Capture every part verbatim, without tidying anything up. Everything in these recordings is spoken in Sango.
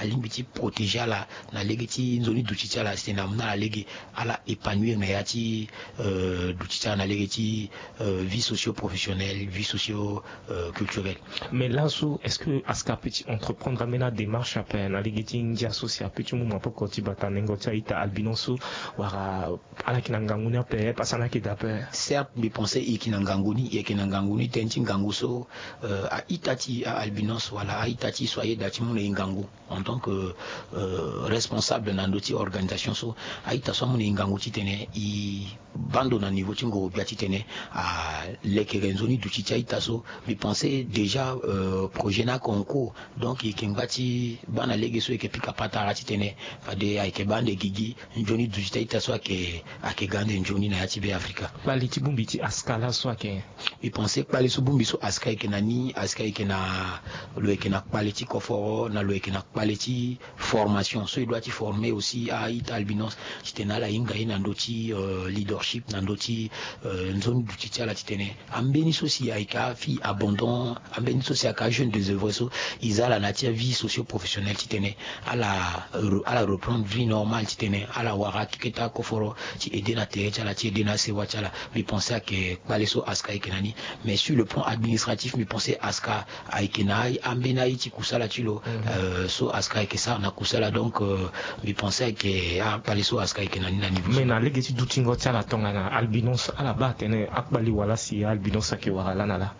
alingbi ti protéger ala na lege ti nzoni duti ti ala si tene amu na ala lege ala épanouir na ya ti duti ti ala na lege ti vie socio-professionnelle, vie socio-culturelle. Mais laso est-ce que aska ape ti entreprendre ambeni adémarche ape na lege ti ngia so si ape ti mu maboko ti bata nengo ti a-ita albinos so, wala ala yeke na ngangu ni ape, pasa na yeke daa ape? Certes, mbi pense e yeke na ngangu ni, e yeke na ngangu ni tënë ti ngangu so a-ita ti a-albinos wala a-ita ti so ayeda ti mu na e ngangu en tant que responsable na ndö ti organisation so, a-ita so amu na e ngangu titene e baa ndo na niveau ti ngoro-gbia titene alekere nzoni duti ti a-ita so. Mbi pense déjà projet ni ayeke en cours. Donc e yeke ngba ti baa na lege so e yeke pika patara titene fade ayeke baa ande gigi nzoni duti ti a-ita so ayeke, ayeke ga ande nzoni na ya ti Be Afrika. Kpale ti bongbi ti aska laso ayeke? Mbi pense kpale so bongbi so aska ayeke na ni, aska ayeke na, lo yeke na kpale ti koforo na lo yeke na kpale ti formation so e doit ti former aussi a-ita albinos titene ala hinga ye na ndö ti leadership na ndö ti nzoni duti ti ala titene ambeni so si ayeke afille abandon, ambeni so si ayeke ajeune désœuvré so, e za ala na ya ti avie socio-professionnelle titene ala, ala reprendre vie normale titene ala wara akeke ti akoforo ti aide na tere ti ala, ti aide na asewa ti ala. Mbi pense ayeke kpale so aska ayeke na ni. Mais sur le plan administratif mbi pense aska ayeke na ambeni aye ti kusala ti lo so aska ayeke sara na kusala. Donc mbi pense ayeke akpale so aska ayeke na ni na niveau. Mais na lege ti dutingo ti ala tongana albinos ala baa atene akpale wala si albinos ayeke wara laa na laa?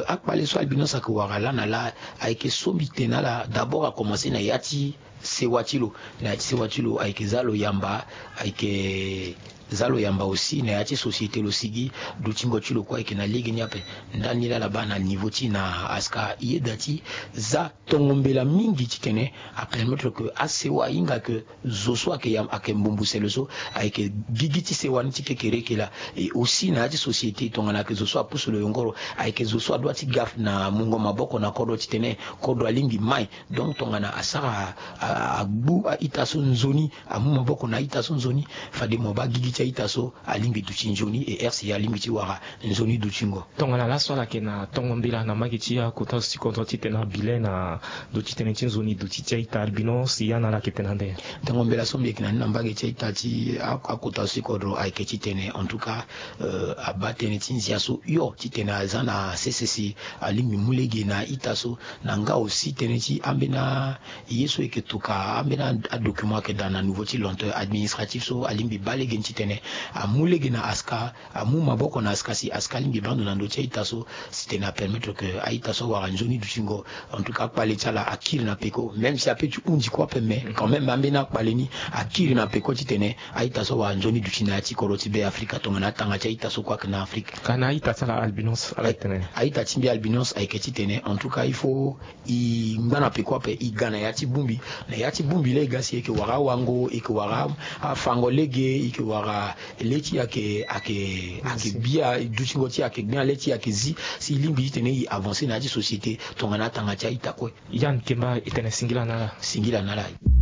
Akpale so albinos ayeke wara laa na laa ayeke so mbi tene na ala d'abord akomanse na ya ti sewa ti lo. Na ya ti sewa ti lo ayeke za lo yamba, ayeke za lo yamba aussi na ya ti société lo sigi. Dutingo ti lo kue ayeke na lege ni ape. Ndani laa ala baa na niveau ti na aska e yeda ti za tongo mbela mingi titene apermettre que asewa ahinga que zo so ayeke yamba, ayeke mbumbu sele so ayeke gigi ti sewa ni ti kekereke laa. Et aussi na ya ti société tongana ayeke zo so apusu lo yongoro, ayeke zo so adoit ti ga na mungo maboko na kodro titene kodro alingbi mai. Donc tongana asara agbu a-ita so nzoni, amu maboko na a-ita so nzoni, fade mo baa gigi ti a-ita so alingbi duti nzoni, et R C A alingbi ti wara nzoni dutingo. Tongana laso ala yeke na tongo mbela na mbage ti akota zo ti kodro titene abile na ndo ti tënë ti nzoni duti ti a-ita albinos, ya na ala ayeke tene ande? Tongo mbela so mbi yeke na ni na mbage ti a-ita ti akota zo ti kodro ayeke titene en tout cas abaa tënë ti nzia so hio titene aza na sese si alingbi mu lege na a-ita so. Na nga aussi tënë ti ambeni aye so e yeke tuka ambeni adocument ayeke daa na niveau ti lenteur administratif so alingbi baa lege ni titene amu lege na aska, amu maboko na aska si aska alingbi baa ndo na ndö ti a-ita so, si tene apermettre que a-ita so awara nzoni dutingo. En tout cas akpale ti ala akiri na peko, même si ape ti hundi kue ape, mais quand même ambeni akpale ni akiri na peko titene a-ita so awara nzoni duti na ya ti kodro ti Be Afrika tongana atanga ti a-ita so kue ayeke na Afrika. Ka na a-ita ti ala albinos ala tene? A-ita ti mbi albinos ayeke titene en tout cas il faut e ngba na peko ape, e ga na ya ti bongbi. Na ya ti bongbi laa e ga si e yeke wara awango, e yeke wara afango lege, e yeke wara le ti e ayeke, ayeke, ayeke gbia, dutingo ti e ayeke gbia, le ti e ayeke zi, si e lingbi titene e avancer na ya ti société tongana atanga ti a-ita kue. Yann Kemba, e tene singila na ala. Singila na ala.